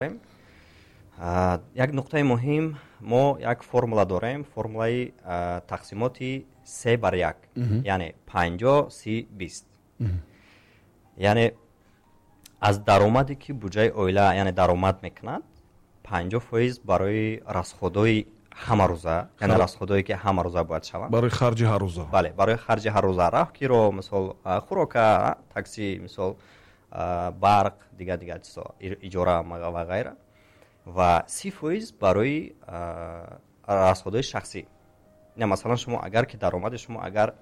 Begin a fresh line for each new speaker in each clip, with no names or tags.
Як нуқтаи муҳим: мо як формула дорем, формулаи тақсимоти се бар як, яъне 50, 30, 20. Яъне аз даромаде ки буҷаи оила, яъне даромад мекунад, 50% барои расходҳои ҳамарӯза, яъне расходҳое ки ҳамарӯза бояд шаванд.
Барои харҷи ҳаррӯза.
Бале, барои харҷи ҳаррӯза: роҳкиро, мисол, хӯрока, такси, мисол, барқ, дигар дигар чизҳо, иҷора ва ғайра, ва 30% барои расходҳои шахсӣ. Масалан, шумо агар ки даромади шумо, агар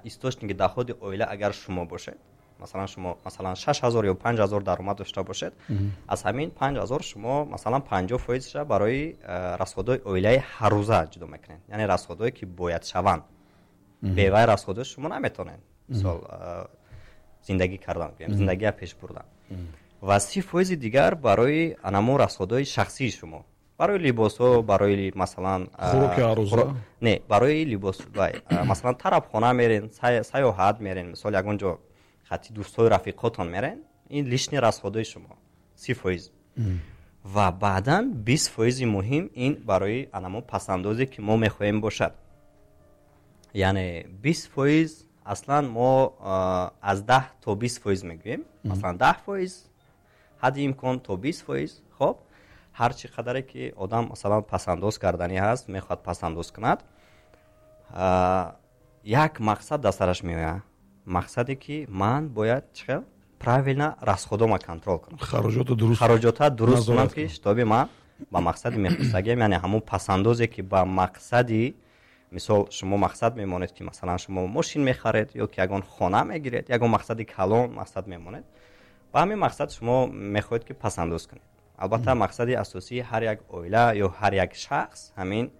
источники доходи оила агар шумо бошед, масалан, шумо, масалан, 6000 ё 5000 даромад дошта бошед, аз ҳамин 5000 шумо, масалан, 50 фоизша барои расходҳои оилаи ҳаррӯза ҷудо мекунед, яъне расходҳое ки бояд шаванд. Бевай расходҳо шумо наметавонед, мисол, зиндагӣ кардан, зиндагия пеш бурдан. Ва 30 фоизи дигар барои анамо расходҳои шахсии шумо, барои либосҳо, барои, масалан,
хӯроки ҳаррӯза.
Не, барои либос, масалан, тарабхона мерен, сайёҳат мерен, мисол, ягон ҷо хати дӯстҳои рафиқотон мерен, ин лишний расходҳои шумо, 30%. Ва баъдан 20 фоизи муҳим ин барои анамо пасандозе ки мо мехоҳем бошад. Яъне 20% аслан мо аз 10 то 20% мегӯем, масалан, 10% ҳадди имкон то 20%. Хоб, ҳар чӣ қадаре ки одам, масалан, пасандоз карданӣ ҳаст, мехоҳад пасандоз кунад, як мақсад дар сараш меояд, мақсаде ки ман бояд чӣ хел правильно расходома контрол кунам.
Хароҷотро дуруст.
Хароҷотро дуруст кунам, ки чтобы ман ба мақсади мехостагиам, яъне ҳамун пасандозе ки ба мақсади, мисол, шумо мақсад мемонед, ки, масалан, шумо мошин мехаред ё ки ягон хона мегиред, ягон мақсади калон мақсад мемонед, ба ҳамин мақсад шумо мехоҳед ки пасандоз кунед. Албатта, мақсади асосии ҳар як оила ё ҳар як шахс ҳамин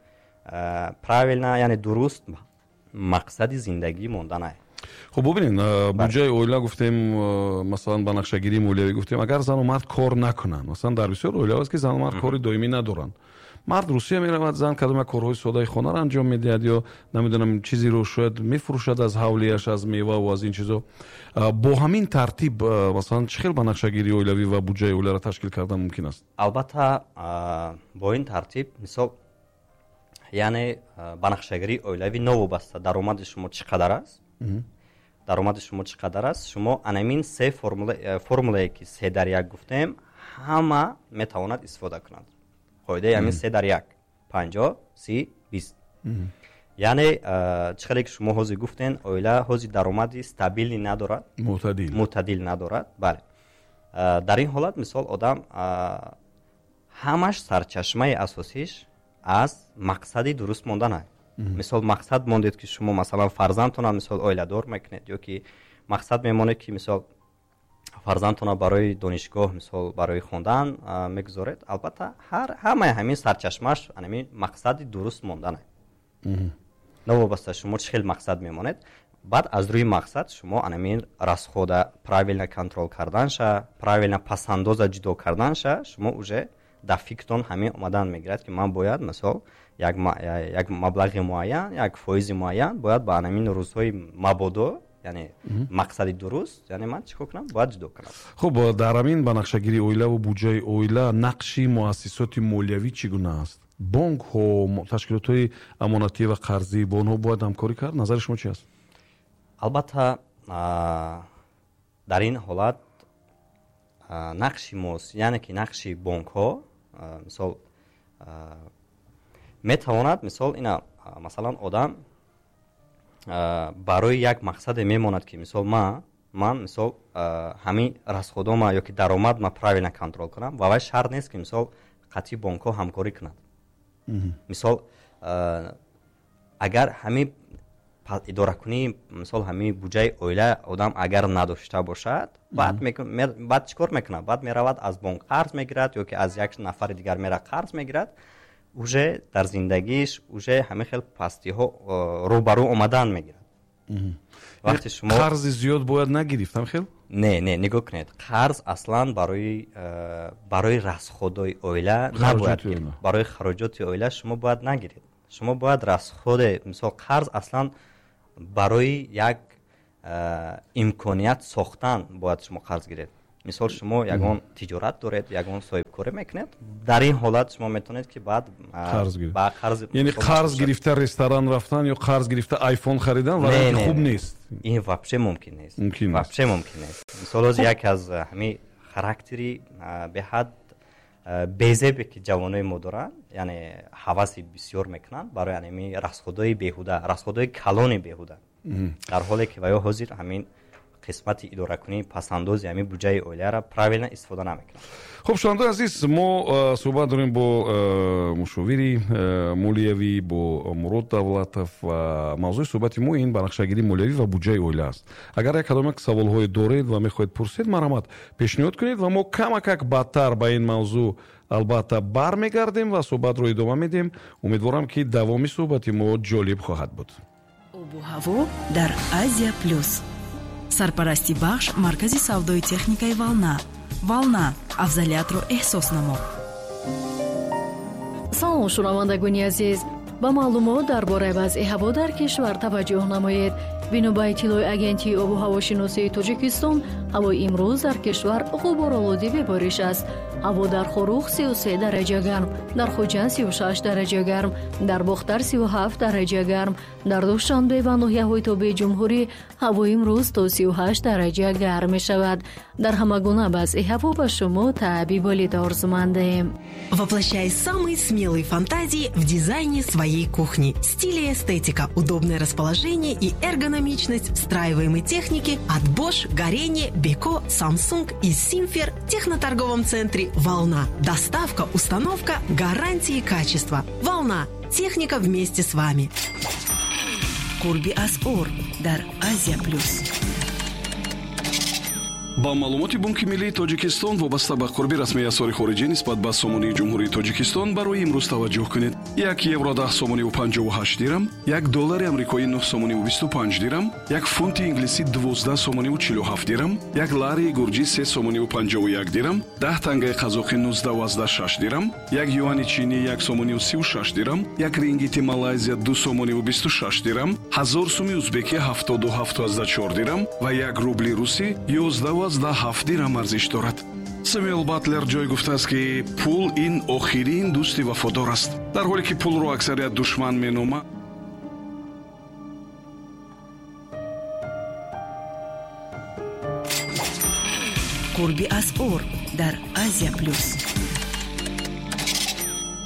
правильно, яъне дуруст мақсади зиндагӣ монданае.
Хуб, бубинед, буҷаи оила гуфтем, масалан, ба нақшагирии молиявӣ гуфтем. Агар зану мард кор накунанд, масалан, дар бисёр оилаҳо аст, ки зану мард кори доимӣ надоранд, мард Русия меравад, зан кадом як корҳои содаи хонаро анҷом медиҳад ё намедонам, чизеро шояд мефурӯшад аз ҳавлияш, аз меваву аз ин чизо. Бо ҳамин тартиб, масалан, чӣ хел ба нақшагирии оилавӣ ва буҷаи оиларо ташкил кардан мумкин аст?
Албатта, бо ин тартиб, мисол, яъне ба нақшагирии оилавӣ новобаста даромади шумо чӣ қадар аст, даромади шумо чӣ қадар аст, шумо анамин се формулае ки се дар як гуфтем, ҳама метавонад истифода кунад. Қоидаи ҳамин се дар як: 50, 30, 20. Яъне чӣ хеле ки шумо ҳозир гуфтен, оила ҳозир даромади стабильный надорад.
Мӯътадил.
Мӯътадил надорад, бале. Дар ин ҳолат, мисол, одам ҳамаш сарчашмаи асосиш аз мақсади дуруст мондан. Мисол, мақсад мондед, ки шумо, масалан, фарзандтона, мисол, оиладор мекунед ё ки мақсад мемонед, ки, мисол, фарзандтона барои донишгоҳ, мисол, барои хондан мегузоред, албатта, ҳамаи ҳамин сарчашмааш ҳамин мақсади дуруст мондан. Новобаста шумо чӣ хел мақсад мемонед, баъд аз рӯи мақсад шумо анамин расхода правильно контрол карданша, правильно пасандоза ҷудо карданша, шумо уже дар фикртон ҳамин омадан мегирад, ки ман бояд, мисол, як маблағи муайян, як фоизи муайян бояд ба анамин рӯзҳои мабодо, яъне мақсади дуруст, яъне ман чӣ кор кунам, бояд ҷудо кунам.
Хуб, дар ҳамин ба нақшагирии оилаву буҷаи оила нақши муассисоти молиявӣ чӣ гуна аст? Бонкҳо, ташкилотҳои амонатӣ ва қарзӣ, бо онҳо бояд ҳамкорӣ кард? Назари шумо чи аст?
Албатта, дар ин ҳолат нақши яъне ки нақши бонкҳо, мисол, метавонад, мисол, ина, масалан, одам барои як мақсаде мемонад, ки, мисол, ман, мисол, ҳамин расходома ё ки даромадма правильно контрол кунам, ва вай шарт нест, ки, мисол, қатъи бонкҳо ҳамкорӣ кунад. Мисол, агар ҳамин идоракунии, мисол, ҳамин буҷаи оила одам агар надошта бошад, баъд чӣ кор мекунад? Баъд меравад, аз бонк қарз мегирад ё ки аз як нафари дигар мера қарз мегирад. Уже дар зиндагиш уже ҳамин хел пастиҳо рӯбарӯ омадан мегирад.
Вақте шумо қарзи зиёд бояд нагирифт, ҳам хел?
Не, не, нигоҳ кунед, қарз аслан барои расходои оила набояд. Барои хароҷоти оила шумо бояд нагиред. Шумо бояд расходе, мисол, қарз аслан барои як имконият сохтан бояд шумо қарз гиред. Мисол, шумо ягон тиҷорат доред, ягон соҳибкорӣ мекунед, дар ин ҳолат шумо метавонед, ки баъд ба қарз,
яъне қарз гирифта ресторан рафтан ё қарз гирифта айфон харидан варианти хуб нест.
Ин вообще мумкин нест, вообще мумкин нест. Мисол, ҳозир яке аз ҳамин характери беҳад безебе, ки ҷавонои мо доранд, яъне ҳаваси бисёр мекунанд барои ҳамин расходҳои беҳуда, расходҳои калони беҳуда, дар ҳоле ки ва ё ҳозир ҳамин қисмати идоракунии пасандози ҳамин буҷаи оиларо правильно истифода намекунанд.
Хуб, шунавандаи азиз, мо суҳбат дорем бо мушовири молиявӣ, бо Мурод Давлатов, ва мавзӯи суҳбати мо ин банақшагирии молиявӣ ва буҷаи оила аст. Агар як кадом як саволҳое доред ва мехоҳед пурсед, марҳамат, пешниҳод кунед ва мо камакак баъдтар ба ин мавзӯъ албатта бармегардем ва суҳбатро идома медиҳем. Умедворам, ки давоми суҳбати мо ҷолиб хоҳад буд.
Обу ҳаво дар Азия Плюс. Сарпарасти бахш маркази савдои техникаи «Волна». «Волна» — афзалиятро эҳсос намо.
Салом, шунавандагони азиз! Ба маълумот дар бораи вазъи ҳаво дар кишвар таваҷҷӯҳ намоед. Бино ба иттилои Агентии обу ҳавошиносии Тоҷикистон, ҳавои имрӯз дар кишвар ғуборолуди бебориш аст. Ҳаво дар Хоруғ 33 дараҷа гарм, дар Хуҷанд 36 дараҷа гарм, дар Бохтар 37 дараҷа гарм, дар Душанбе ва ноҳияҳои тобеи ҷумҳурӣ ҳавои имрӯз то 38 дараҷа гарм мешавад. Дар ҳама гуна вазъи ҳаво ба шумо таъби болида орзумандаем.
Воплощай самые смелые фантазии в дизайне своей кухни. Стиль и эстетика, удобное расположение и эргономичность встраиваемой техники от Bosch, Gorenje, Beko, Samsung и Simfer в техноторговом центре «Волна». Доставка, установка, гарантии качества. «Волна». Техника вместе с вами.
Қурби асъор дар Азия Плюс.
Ба маълумоти Бонки миллии Тоҷикистон вобаста ба қурби расмии асъори хориҷӣ нисбат ба сомонии Ҷумҳурии Тоҷикистон барои имрӯз таваҷҷӯҳ кунед: 1 евро 10 сомониву 58 дирам, 1 доллари амрикоӣ 9 сомониву 25 дирам, 1 фунти инглисӣ 12 сомониву 47 дирам, 1 ларии гурҷӣ 3 сомониву 51 дирам, 10 тангаи қазоқӣ 19,6 дирам, 1 юани чинӣ 1 сомониву 36 дирам, 1 рингити Малайзия 2 сомониву 26 дирам, 1000 суми узбекӣ 77,4 дирам ва 1 рубли русӣ 11,7 дирам арзиш дорад. Сэмюэл Батлер ҷой гуфтааст, ки пул ин охирин дӯсти вафодор аст, дар ҳоле ки пулро аксарият душман меномад.
Қурби асъор дар Азия Плюс.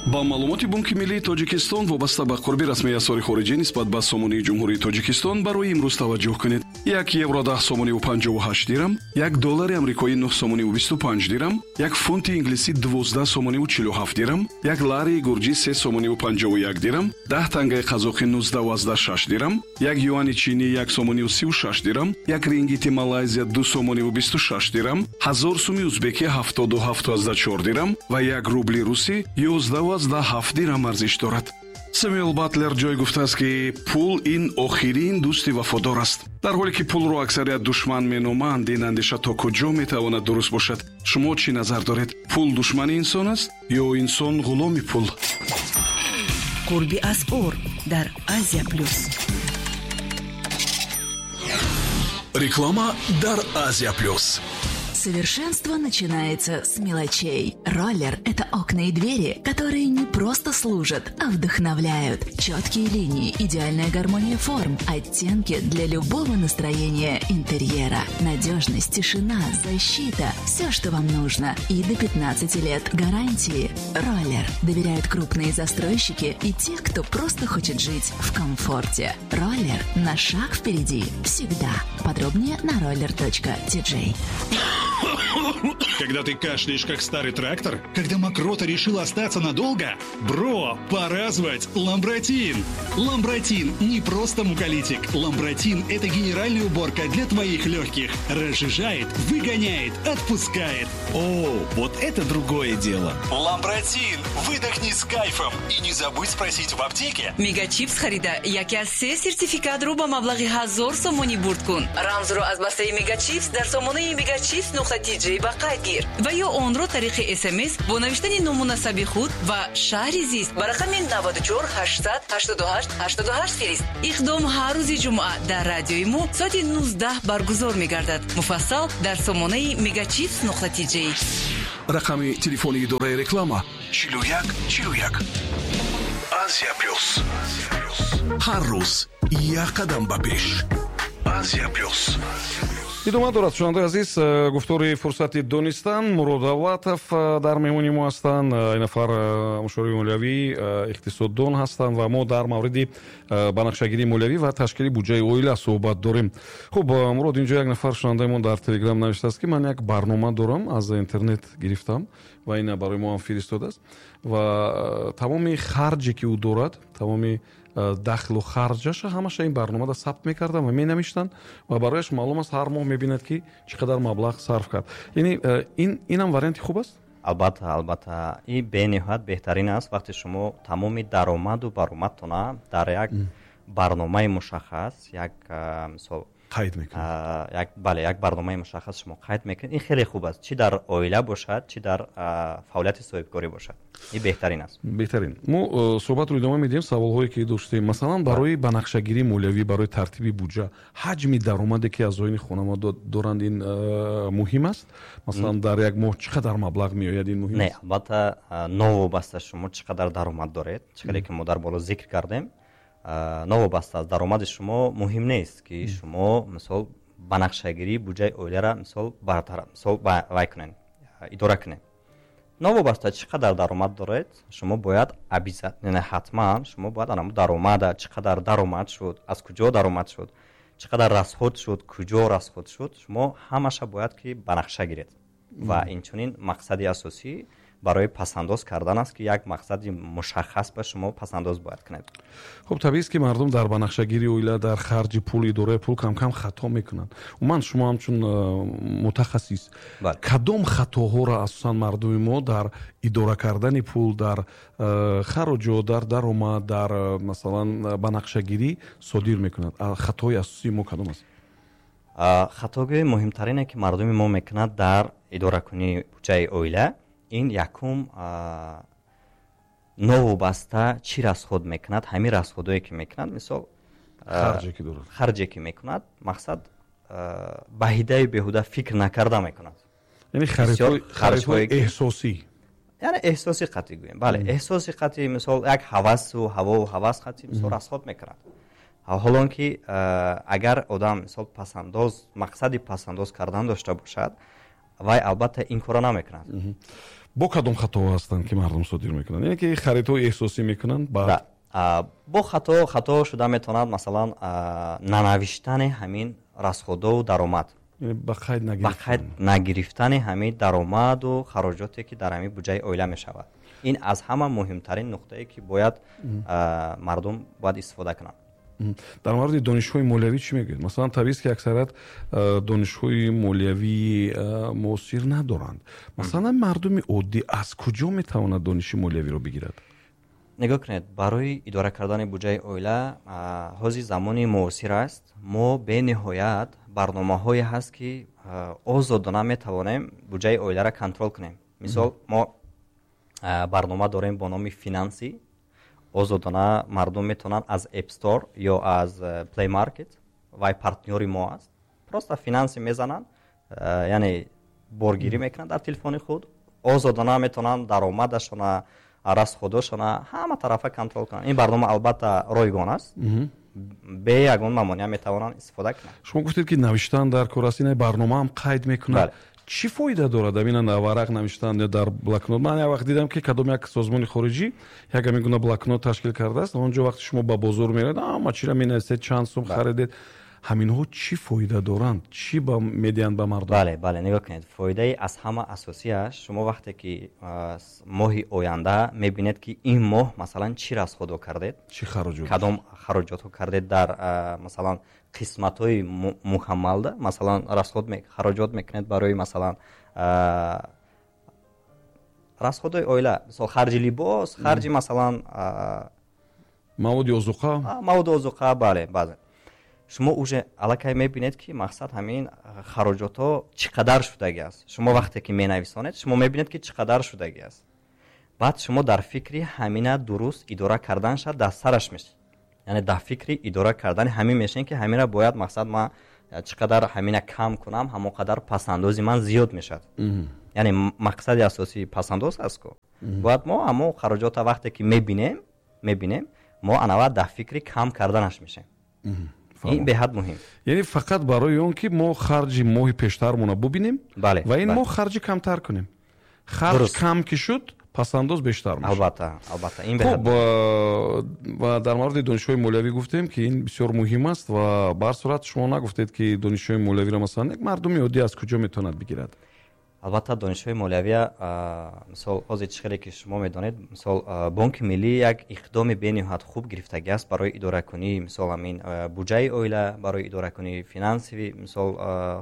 Ба маълумоти Бонки миллии Тоҷикистон вобаста ба қурби расмии асъори хориҷӣ нисбат ба сомонии Ҷумҳурии Тоҷикистон барои имрӯз таваҷҷӯҳ кунед: 1 евро 10 сомониву 58 дирам, 1 доллари амрикоӣ 9 сомониву 25 дирам, 1 фунти инглисӣ 12 сомониву 47 дирам, 1 ларии гурҷӣ 3 сомониву 51 дирам, 10 тангаи қазоқӣ 19,6 дирам, 1 юани чинӣ 1 сомониву 36 дирам, 1 рингити Малайзия 2 сомониву 26 дирам, 1000 суми узбекӣ 77,4 дирам ва 1 рубли русӣ 11,7 дирам арзиш дорад. Сэмюэл Батлер ҷой гуфтааст, ки пул ин охирин дӯсти вафодор аст, дар ҳоле ки пулро аксарият душман меноманд. Ин андеша то куҷо метавонад дуруст бошад? Шумо чӣ назар доред? Пул душмани инсон аст ё инсон ғуломи пул?
Қурби асъор дар Азия Плюс.
Реклама дар Азия Плюс.
Совершенство начинается с мелочей. Роллер – это окна и двери, которые не просто служат, а вдохновляют. Четкие линии, идеальная гармония форм, оттенки для любого настроения интерьера. Надежность, тишина, защита – все, что вам нужно. И до 15 лет гарантии. Роллер. Доверяют крупные застройщики и те, кто просто хочет жить в комфорте. Роллер на шаг впереди. Всегда. Подробнее на roller.tj.
Когда ты кашляешь, как старый трактор? Когда мокрота решила остаться надолго? Бро, пора звать Ламбратин! Ламбратин не просто муколитик. Ламбратин – это генеральная уборка для твоих легких. Разжижает, выгоняет, отпускает.
О, вот это другое дело.
Ламбратин! Выдохни с кайфом. И не забудь спросить в аптеке.
Мегачипс харида яке аз се сертификатро ба маблағи 1000 сомонӣ бурд кун. Рамзро аз бастаи Мегачипс дар сомонаи мегачипс нуқта нуқта tj ба қайд гир ва ё онро тариқи СМС бо навиштани ному насаби худ ва шаҳри зист ба рақами 94 888 88 фирист. Иқдом ҳар рӯзи ҷумъа дар радиои мо соати 19 баргузор мегардад. Муфассал дар сомонаи Мегачипс нуқта tj.
Рақами телефони идораи реклама 41 41. Азия Плюс. Ҳар рӯз як қадам ба пеш. Азия Плюс.
Идома дорад, шунавандаи азиз, гуфтори «Фурсати донистан». Мурод Давлатов дар меҳмони мо ҳастанд. Ин нафар мушовири молиявӣ, иқтисоддон ҳастанд ва мо дар мавриди банақшагирии молиявӣ ва ташкили буҷаи оила суҳбат дорем. Хуб, Мурод, инҷо як нафар шунавандаи мо дар Телеграм навиштааст, ки ман як барнома дорам, аз интернет гирифтам ва ина барои мо ҳам фиристодааст ва тамоми харҷе ки ӯ дорад, тамоми дахлу харҷаша ҳамаша ин барномада сабт мекардам ва менавиштанд ва барояш маълум аст, ҳар моҳ мебинад, ки чӣ қадар маблағ сарф кард. Яъне инам варианти хуб аст?
Албатта, албатта, ин бениҳоят беҳтарин аст. Вақте шумо тамоми даромаду баромадтона дар як барномаи мушаххас, як мисол
қайд мекунед.
Як, бале, як барномаи мушаххас шумо қайд мекунед, ин хеле хуб аст, чӣ дар оила бошад, чӣ дар фаъолияти соҳибкорӣ бошад, ин беҳтарин аст.
Беҳтарин. Мо суҳбатро идома медиҳем. Саволҳое ки доштем, масалан, барои банақшагирии молиявӣ, барои тартиби буҷа, ҳаҷми даромаде ки аъзоини хонавода доранд, ин муҳим аст? Масалан, дар як моҳ чӣ қадар маблағ меояд, ин муҳим
Не,
аст?
Албатта, новобаста шумо чӣ қадар даромад доред, чӣ қадаре ки мо дар боло зикр кардем, новобаста аз даромади шумо муҳим нест, ки шумо, мисол, банақшагирии буҷаи оиларо, мисол, бартараф, мисол, вай кунед, идора кунед. Новобаста чӣ қадар даромад доред, шумо бояд обязательно, ҳатман шумо бояд ана даромада, чӣ қадар даромад шуд, аз куҷо даромад шуд, чӣ қадар расход шуд, куҷо расход шуд, шумо ҳамаша бояд ки ба нақша гиред. Ва инчунин мақсади асосӣ барои пасандоз кардан аст, ки як мақсади мушаххас ба шумо пасандоз бояд кунед.
Хуб, табиист, ки мардум дар банақшагирии оила, дар харҷи пул, идораи пул кам-кам хато мекунанд. Умуман, шумо ҳамчун мутахассис, кадом хатоҳоро асосан мардуми мо дар идора кардани пул, дар хароҷот, дар даромад, дар масалан, банақшагирӣ содир мекунанд? Хатои асосии мо кадом аст?
Хатогии муҳимтарине, ки мардуми мо мекунад дар идоракунии буҷаи оила, ин якум, новобаста чӣ расход мекунад, ҳамин расходое ки мекунад, мисол,
харҷе ки дорад,
харҷе ки мекунад, мақсад, ба ҳидаи беҳуда фикр накарда мекунад.
Яъне харидҳои эҳсосӣ.
Яъне эҳсоси қатъӣ гӯем, бале, эҳсоси қатъӣ, мисол, як ҳавасу ҳавову ҳавас қатъӣ, мисол, расход мекунад. Ҳолон ки агар одам, мисол, пасандоз, мақсади пасандоз кардан дошта бошад, вай албатта ин корро намекунад.
Бо кадом хатоҳо ҳастанд, ки мардум содир мекунанд? Яъне ки харидҳои эҳсосӣ мекунанд, баъд
Бо хато шуда метавонад, масалан, нанавиштани ҳамин расходову даромад.
Ба қайд
ба қайд нагирифтани ҳамин даромаду хароҷоте, ки дар ҳамин буҷаи оила мешавад. Ин аз ҳама муҳимтарин нуқтае, ки бояд мардум бояд истифода кунанд.
Дар мавриди донишҳои молиявӣ чӣ мегӯед? Масалан, табиист, ки аксарият донишҳои молиявии муосир надоранд. Масалан, мардуми оддӣ аз куҷо метавонад дониши молиявиро бигирад?
Нигоҳ кунед, барои идора кардани буҷаи оила ҳозир замони муосир аст. Мо бениҳоят барномаҳое ҳаст, ки озодона метавонем буҷаи оиларо контрол кунем. Мисол, мо барнома дорем бо номи «Финансӣ». Озодона мардум метавонанд аз App Store ё аз Play Market, вай партнёри мо аст, просто «Финансӣ» мезананд, яъне боргирӣ мекунанд дар телефони худ, озодона метавонанд даромадашона, расходошона ҳама тарафа контрол кунанд. Ин барнома албатта ройгон аст, бе ягон мамоният метавонанд истифода кунанд.
Шумо гуфтед, ки навиштан дар кор аст, ин барномаам қайд мекунад. Чӣ фоида дорад амина варақ навиштан ё дар блокнот? Ман як вақт дидам, ки кадом як созмони хориҷӣ як ҳамин гуна блокнот ташкил кардааст. Он ҷо вақте шумо ба бозор меравед, ҳама чиро менависед, чанд сум харидед. Ҳаминҳо чӣ фоида доранд, чӣ медиҳанд ба мардум?
Бале, нигоҳ кунед, фоидаи аз ҳама асосиаш, шумо вақте ки моҳи оянда мебинед, ки ин моҳ, масалан, чӣ расходо кардед,
чӣ хароҷот,
кадом хароҷотҳо кардед, дар масалан, қисматҳои мукаммалда, масалан, расход, хароҷот мекунед барои, масалан, расходои оила, мисол, харҷи либос, харҷи, масалан,
маводи озуқа.
Маводи озуқа, бале, баъзе. Шумо уже аллакай мебинед, ки мақсад ҳамин хароҷотҳо чӣ қадар шудагӣ аст. Шумо вақте ки менависонед, шумо мебинед, ки чӣ қадар шудагӣ аст. Баъд шумо дар фикри ҳамина дуруст идора кардан шад дар сараш мешед, яъне дар фикри идора кардани ҳамин мешавед, ки ҳамина бояд мақсад ман чӣ қадар ҳамина кам кунам, ҳамон қадар пасандози ман зиёд мешавад. Яъне мақсади асосии пасандоз аст ку. Бояд мо ҳамон хароҷота вақте ки мебинем, мо анава дар фикри кам карданаш мешавем. Ин беҳад муҳим.
Яъне фақат барои он ки мо харҷи моҳи пештармона бубинем ва ин моҳ харҷи камтар кунем. Харҷ кам ки шуд, пасандоз бештар мешавад.
Албатта, албатта, ин беҳад.
Хуб, ва дар мавриди донишҳои молиявӣ гуфтем, ки ин бисёр муҳим аст ва ба ҳар сурат шумо нагуфтед, ки донишҳои молиявиро масалан як мардуми оддӣ аз куҷо метавонад бигирад?
Албатта, донишҳои молиявия, мисол, ҳозир чӣ хеле ки шумо медонед, мисол, Бонки Миллӣ як иқдоми бениҳоят хуб гирифтагӣ аст барои идоракунии, мисол, ҳамин буҷаи оила, барои идоракунии финансовӣ, мисол,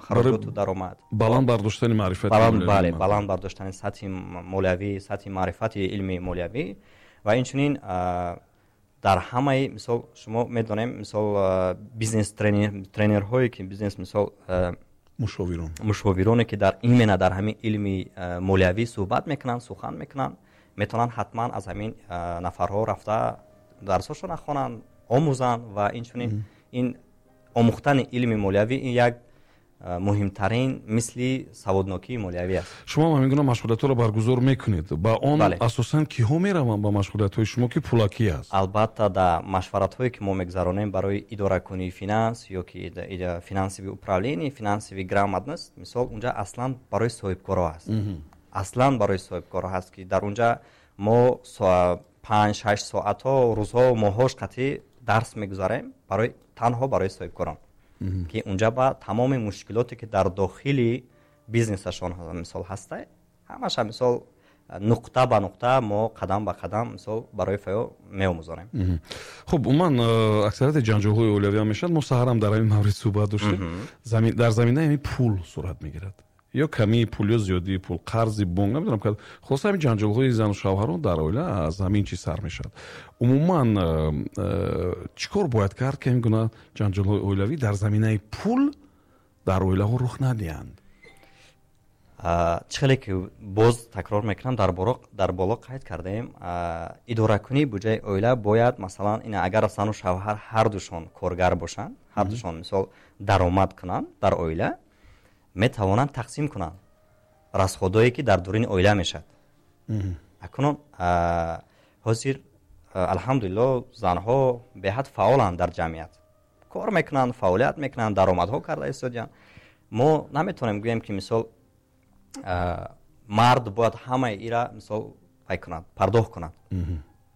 хароҷоту даромад.
Баланд бардоштани маърифати
бале, баланд бардоштани сатҳи молиявӣ, сатҳи маърифати илми молиявӣ ва инчунин дар ҳамаи, мисол, шумо медонем, мисол, бизнес тренерҳое ки бизнес, мисол,
мушовирон,
мушовироне ки дар именно дар ҳамин илми молиявӣ суҳбат мекунанд, сухан мекунанд, метавонанд ҳатман аз ҳамин нафарҳо рафта дарсҳошона хонанд, омӯзанд ва инчунин ин омӯхтани илми молиявӣ ин як муҳимтарин мисли саводнокии молиявӣ аст.
Шумо ҳамин гуна машғулиятҳоро баргузор мекунед. Ба он асосан киҳо мераванд ба машғулиятҳои шумо, ки пулакӣ аст?
Албатта, дар машваратҳое ки мо мегузаронем барои идоракунии финанс ё ки финансовый управление, финансовый грамотность, мисол, унҷа аслан барои соҳибкоро аст. Аслан барои соҳибкоро ҳаст, ки дар унҷа мо 5-6 соатҳо, рӯзҳо, моҳҳош қатъӣ дарс мегузарем барои танҳо барои соҳибкорон, ки унҷа ба тамоми мушкилоте ки дар дохили бизнесашон, мисол, ҳаста, ҳамаша, мисол, нуқта ба нуқта мо қадам ба қадам, мисол, барои фаё меомӯзонем.
Хуб, умуман аксарияти ҷанҷолҳои оилавӣ ҳам мешавад, мо саҳарам дар ҳамин маврид суҳбат доштем, дар заминаи ҳамин пул сурат мегирад, ё камии пул ё зиёдии пул, қарзи бонк, намедонам, хулоса ҳамин ҷанҷолҳои зану шавҳарон дар оила аз ҳамин чиз сар мешавад. Умуман чӣ кор бояд кард, ки ҳамин гуна ҷанҷолҳои оилавӣ дар заминаи пул дар оилаҳо рух надиҳанд?
Чӣ хеле ки боз такрор мекунам, дар боло қайд кардаем, идоракунии буҷаи оила бояд, масалан, ин агар зану шавҳар ҳардушон коргар бошанд, ҳардушон, мисол, даромад кунанд дар оила, метавонанд тақсим кунанд расходое ки дар дуруни оила мешавад. Акнун ҳозир, алҳамдулилло, занҳо беҳад фаъоланд дар ҷамъият, кор мекунанд, фаъолият мекунанд, даромадҳо карда истодиянд. Мо наметавонем гӯем, ки, мисол, мард бояд ҳамаи ира, мисол, пай кунад, пардохт кунад.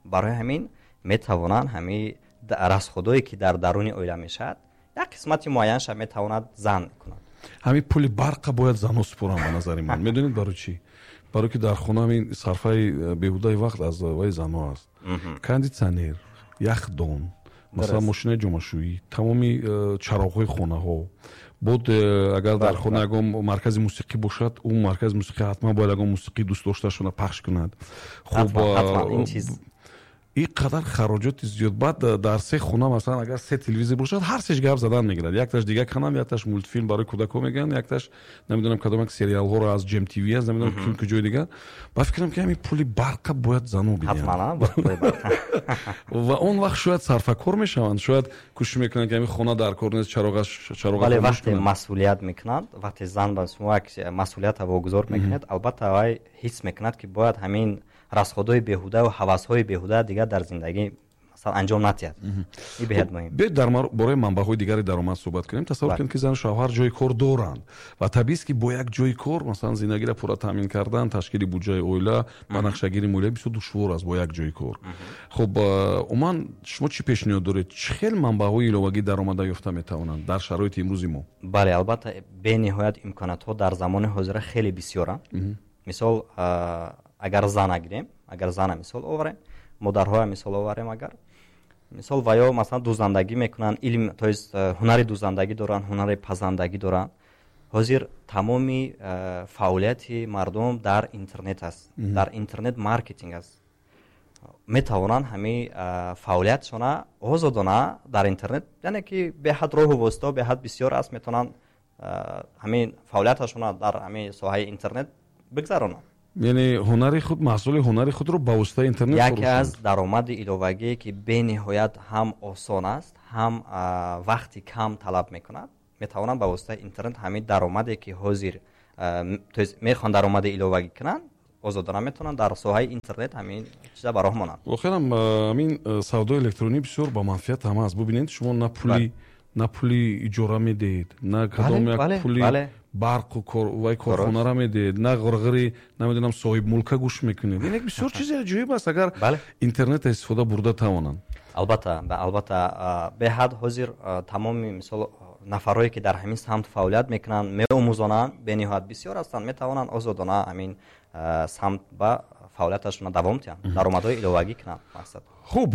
Барои ҳамин метавонанд ҳамин расходое ки дар даруни оила мешавад, як қисмати муайянша метавонад зан кунад.
Ҳамин пули барқа бояд занҳо супоранд, ба назари ман. Медонед барои чӣ? Барои ки дар хона ҳамин сарфаи беҳудаи вақт аз ваи занҳо аст. Кондитсионер, яхдон, масалан, мошинаи ҷомашӯӣ, тамоми чароғҳои хонаҳо. Бод агар дар хона ягон маркази мусиқӣ бошад, ӯ маркази мусиқӣ ҳатман бояд ягон мусиқии дӯстдоштаашонро пахш кунад. Хуб, ин қадар хароҷоти зиёд. Баъд дар се хона, масалан, агар се телевизор бошад, ҳар сеш гап задан мегирад. Якташ дигар канал, якташ мультфилм барои кӯдакҳо мегӯянд, якташ намедонам кадом як сериалҳоро аз Ҷем ТВ аст, намедонам ким куҷои дигар. Ба фикрам, ки ҳамин пули барқа бояд занҳо бидиҳанд. Ва он вақт шояд сарфакор мешаванд, шояд кӯшиш мекунанд, ки ҳамин хона дар кор нест, чароғаш чароға.
Бале, вақте масъулият мекунанд, вақте зан ба шумо як масъулиятро вогузор мекунад, албатта вай ҳис мекунад, ки бояд ҳамин расходҳои беҳуда ва ҳавасҳои беҳуда дигар дар зиндагӣ, масалан, анҷом надиҳад. Ин беҳад муҳим.
Биёед дар бораи манбаъҳои дигари даромад суҳбат кунем. Тасаввур кунед, ки зану шавҳар ҷои кор доранд ва табиист, ки бо як ҷои кор, масалан, зиндагиро пурра таъмин кардан, ташкили буҷаи оила, ба нақшагирии молиявӣ бисёр душвор аст бо як ҷои кор. Хуб, умуман шумо чӣ пешниҳод доред? Чӣ хел манбаъҳои иловагии даромада ёфта метавонанд дар шароити имрӯзи мо?
Бале, албатта, бениҳоят имкониятҳо дар замони ҳозира хеле бисёранд. Мисол, агар зана гирем, агар зана мисол оварем, модарҳоя мисол оварем, агар мисол ва ё масалан дӯзандагӣ мекунанд, илм, то есть ҳунари дӯзандагӣ доранд, ҳунари пазандагӣ доранд. Ҳозир тамоми фаъолияти мардум дар интернет аст, дар интернет маркетинг аст. Метавонанд ҳамин фаъолиятшона озодона дар интернет, яъне ки беҳад роҳу воситаҳо беҳад бисёр аст, метавонанд ҳамин фаъолияташона дар ҳамин соҳаи интернет бигзаронанд.
Яъне ҳунари худ, маҳсули ҳунари худро ба воситаи интернет
яке аз даромади иловагие, ки бениҳоят ҳам осон аст, ҳам вақти кам талаб мекунад, метавонанд ба воситаи интернет ҳамин даромаде, ки ҳозир, то есть мехоҳанд даромади иловагӣ кунанд, озодона метавонанд дар соҳаи интернет ҳамин чиза ба роҳ монанд.
Воқеан ҳамин савдои электронӣ бисёр ба манфиат ҳама аст. Бубинед, шумо на пули иҷора медиҳед, на кадом як пули барқу вай корхонара медиҳед, на ғурғири, намедонам, соҳибмулка гӯш мекунед. Ин як бисёр чизи аҷоиб аст, агар интернета истифода бурда тавонанд.
Албатта, албатта, беҳад ҳозир тамоми, мисол, нафарое, ки дар ҳамин самт фаъолият мекунанд, меомӯзонанд, бениҳоят бисёр ҳастанд, метавонанд озодона ҳамин самт ба фаъолияташонро давом диҳанд, даромадҳои иловагӣ кунанд. Мақсад.
Хуб,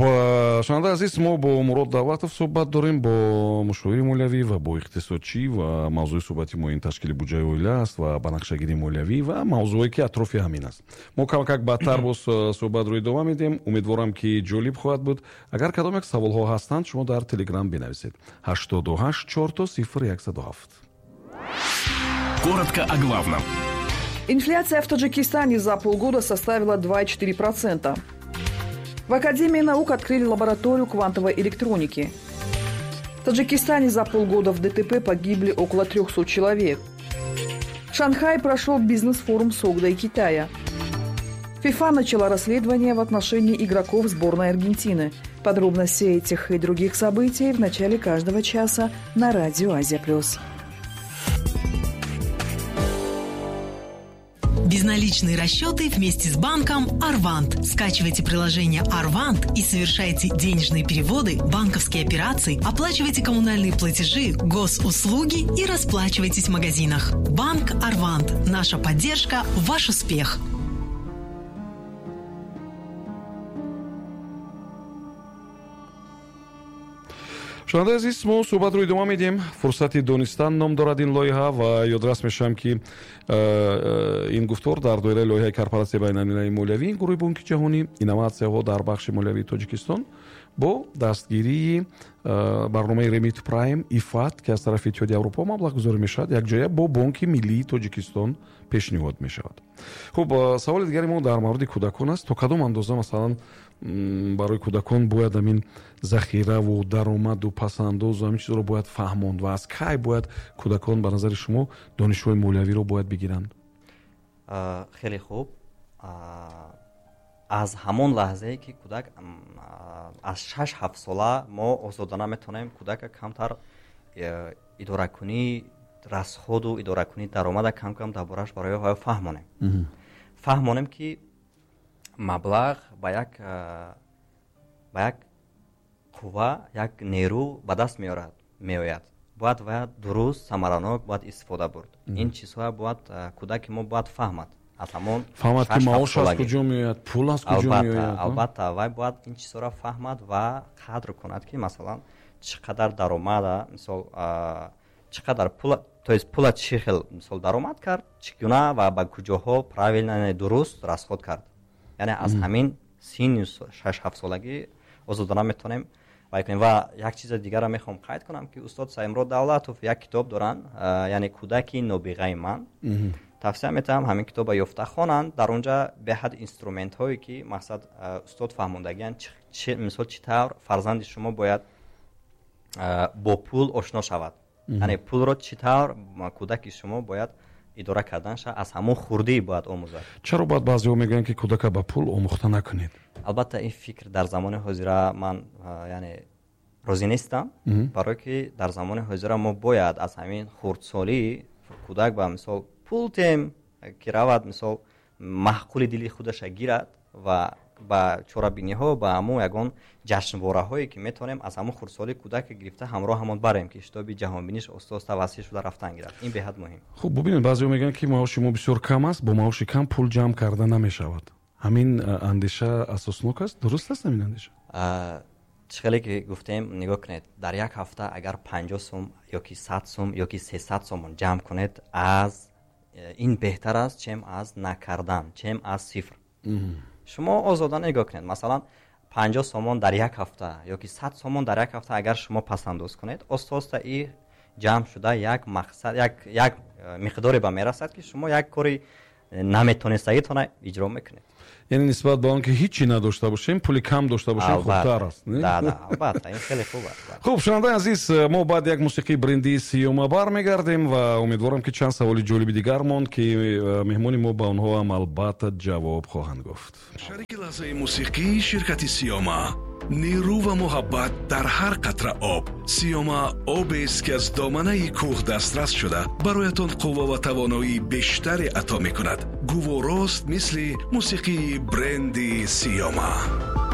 шунавандаи азиз, мо бо Мурод Давлатов суҳбат дорем, бо мушовири молиявӣ ва бо иқтисодчӣ, ва мавзӯи суҳбати мо ин ташкили буҷаи оила аст ва банақшагирии молиявӣ ва мавзӯое, ки атрофи ҳамин аст. Мо камакак баъдтар боз суҳбатро идома медиҳем. Умедворам, ки ҷолиб хоҳад буд. Агар кадом як саволҳо ҳастанд, шумо дар Телеграм бинависед: 88 000 107.
Коротко о главном.
Инфляция в Таджикистане за полгода составила 2,4%. В Академии наук открыли лабораторию квантовой электроники. В Таджикистане за полгода в ДТП погибли около 300 человек. В Шанхае прошел бизнес-форум Согда и Китая. ФИФА начала расследование в отношении игроков сборной Аргентины. Подробности этих и других событий в начале каждого часа на радио «Азия плюс».
Безналичные расчеты вместе с банком «Арвант». Скачивайте приложение «Арвант» и совершайте денежные переводы, банковские операции, оплачивайте коммунальные платежи, госуслуги и расплачивайтесь в магазинах. Банк «Арвант». Наша поддержка – ваш успех.
Шунавандаи азиз, мо суҳбатро идома медиҳем. «Фурсати донистан» ном дорад ин лоиҳа, ва ёдрас мешавам, ки ин гуфтор дар доираи лоиҳаи Корпоратсияи байналмилалии молиявӣ, гурӯҳи Бонки Ҷаҳонӣ, инноватсияҳо дар бахши молиявии Тоҷикистон бо дастгирии барномаи Remit Prime ИФАД, ки аз тарафи Иттиҳоди Аврупо маблағгузорӣ мешавад, якҷоя бо Бонки Миллии Тоҷикистон пешниҳод мешавад. Хуб, саволи дигари мо дар мавриди кӯдакон аст. То кадом андоза, масалан, барои кӯдакон бояд ҳамин захираву даромаду пасандозу ҳамин чизро бояд фаҳмонд ва аз кай бояд кӯдакон, ба назари шумо, донишҳои молиявиро бояд бигиранд?
Хеле хуб. Аз ҳамон лаҳзае, ки кӯдак аз 6-7 сола, мо озодона метавонем кӯдака камтар идоракунии расходу идоракунии даромада кам-кам дар бораш барои ҳаё фаҳмонем, ки маблағ ба як қувва, як нерӯ ба даст меояд, бояд ва дуруст, самаранок бояд истифода бурд. Ин чизҳоя бояд кӯдаки мо бояд фаҳмад аз ҳамон
Фаҳмад, ки маош аз куҷо меояд, пул аз куҷо меояд.
Албатта, вай бояд ин чизҳоро фаҳмад ва қадр кунад, ки, масалан, чӣ қадар даромада, мисол, чӣ қадар пул, то есть пула чӣ хел, мисол, даромад кард, чӣ гуна ва ба куҷоҳо правильно, дуруст расход кард. Яъне аз ҳамин синни 6-7 солагӣ озодона метавонем вай кунем. Ва як чизи дигарро мехоҳам қайд кунам, ки устод Саимурод Давлатов як китоб доранд, яъне «Кӯдаки нобиғаи ман». Тавсия метавам ҳамин китоба ёфта хонанд. Дар онҷа беҳад инструментҳое, ки, мақсад, устод фаҳмондагианд, мисол, чӣ тавр фарзанди шумо бояд бо пул ошно шавад, яъне пулро чӣ тавр кӯдаки шумо бояд идора карданша аз ҳамон хурдӣ бояд омӯзад.
Чаро баъд баъзеҳо мегӯянд, ки кӯдака ба пул омӯхта накунед?
Албатта, ин фикр дар замони ҳозира ман, яъне, розӣ нестам, барое ки дар замони ҳозира мо бояд аз ҳамин хурдсолӣ кӯдак ба, мисол, пул тем, ки равад, мисол, маъқули дили худаша гирад ва ба чорабиниҳо, ба ҳамун ягон ҷашнвораҳое, ки метавонем, аз ҳамун хурдсолӣ кӯдака гирифта ҳамроҳ ҳамон барем, ки шитоби ҷаҳонбиниш оста оста васеъ шуда рафтан гирад. Ин беҳад муҳим.
Хуб, бубинед, баъзеҳо мегӯянд, ки маоши мо бисёр кам аст, бо маоши кам пул ҷамъ карда намешавад. Ҳамин андеша асоснок аст? Дуруст аст ҳамин андеша?
Чӣ хеле ки гуфтем, нигоҳ кунед, дар як ҳафта агар 50 сум ёки 100 сум ёки 300 сомон ҷамъ кунед, аз ин беҳтар аст, чем аз накардан, чем аз сифр. Шумо озодона нигоҳ кунед, масалан, 50 сомон дар як ҳафта ёки 100 сомон дар як ҳафта агар шумо пасандоз кунед, оста оста и ҷамъ шуда як мақсад, як миқдоре ба мерасад, ки шумо як кори наметонистагитона иҷро мекунед.
Яъне нисбат ба он ки ҳичи надошта бошем, пули кам дошта бошем, хубтар аст.
Да, албатта, ин хеле хуб аст.
Хуб, шунавандаи азиз, мо баъд як мусиқии бренди Сиёма бармегардем ва умедворам, ки чанд саволи ҷолиби дигар монд, ки меҳмони мо ба онҳо ҳам албатта ҷавоб хоҳанд гуфт.
Шарики лаҳзаи мусиқӣ ширкати Сиёма. Нерӯ ва муҳаббат дар ҳар қатра об. Сиёма обест, ки аз доманаи кӯҳ дастрас шуда, бароятон қувва ва тавоноии бештаре ато мекунад. Гуворост, мисли мусиқии бренди Сиёма.